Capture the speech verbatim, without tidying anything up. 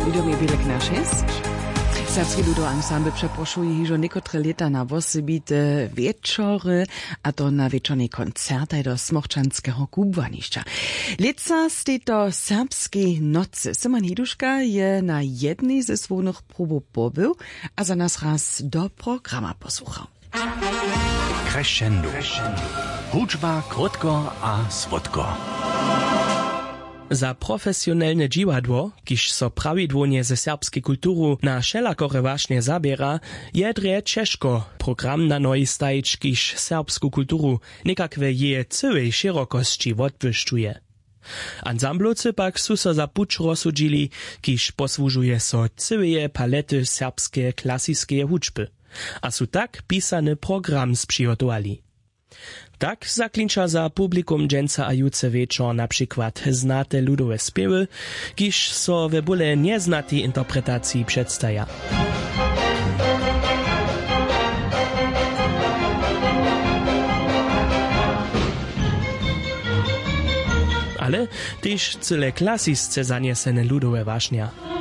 Widom je bělek na šest. Serbski ludowy ansambl přeprošuje hižo někotre lěta na wosebite wječory, a to na wječornej koncertaj do smorčanskeho kubłanišća. Lětsa stej to serbskej nocy. Simon Hiduška je na jednej ze słownych probow pobył a za nas raz do programa posłuchał. Crescendo. Hudźba krótko a słodko. Za profesionelne dźiwadło, kiž so prawidłownje ze serbskej kulturu na wšelakore wašnje zaběra, je drje ćežko program na nohi stajić, kiž serbsku kulturu někak we jeje cyłej šěrokosći wotbłyšćuje. Ansamblowcy pak su so za puć rozsudźili, kiž posłužuje so cyłeje palety serbskeje klasiskeje hudźby, a su tak pisany program spřihotowali. Tak zaklinča za publikum dźensa a jutře wječor na přikład znate ludowe spěwy, kiž so we bóle njeznatej interpretaciji předstaja. Ale tež cyle klasisce zanjesene ludowe wašnja.